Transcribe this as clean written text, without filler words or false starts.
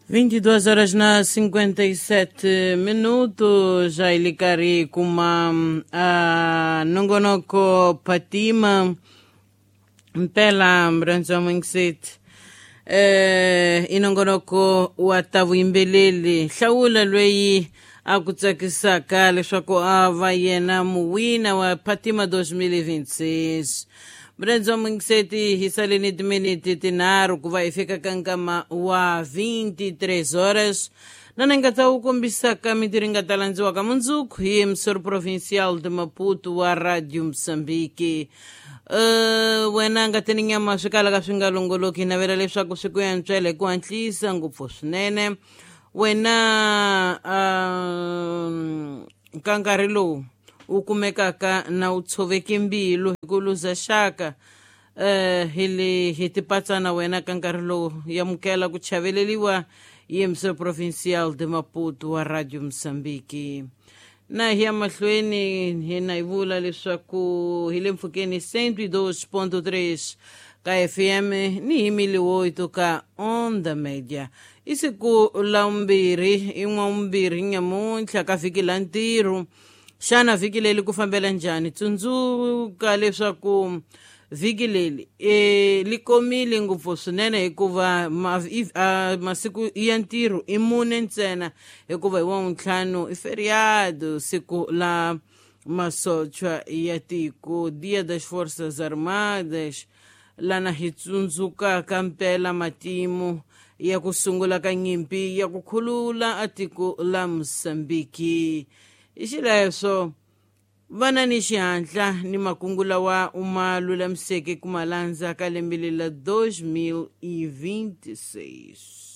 22 horas na 57 minutos, já ele cari kuma nongonoko Fatima mpela mrandza mwingisethi inongonoko wa ta vuyimbeleli hlawula loyi a ku tsakisaka leswaku a va yena muwina wa Fatima 2026. Mrandza mwingiseti, hi saleni timiniti tinharhu ku va hi fika ka nkama wa 23 horas, na ni nga ta wu kombisaka mintirho yi nga ta landziwaka mundzuku hi emissor provincial de Maputo wa Radio Mozambique. Wena nga teni nyama swi kalaka swi nga longoloki, hi navela leswaku swi ku yantswela hi ku hatlisa ngopfu swinene. Wena ka nkarhi lowu wu kumekaka na wu tshoveke mbilu hi ku luza xaka, hi le hi tipatsana, wena ka nkarhi lowu yamukela ku chaveleliwa hi emissor provincial de Maputo wa Radio Mozambique. Na hi ya mahlweni hina hi vula leswaku hi le mpfhukeni 102.3 ka FM ni hi 1008 ka Onda Media. I siku la vumbirhi, i n'wavumbirhi nyamuntlha ka vhiki la ntirho. Xana vhiki leri ku fambela njhani? Tsundzuka leswaku vhiki leri li komile ngopfu swinene, hikuva masiku ya ntirho i mune ntsena, hikuva hi wavuntlhanu i feriado, siku la masochwa ya tiko, Dia das Forças Armadas, lana hi tsundzukaka mpela matimu ya ku sungula ka nyimpi ya ku khulula a tiko la Mosambiki. Hi xileswo vana ni xihatla ni makungu lawa u ma lulamiseke ku ma landza ka lembe leri la 2026.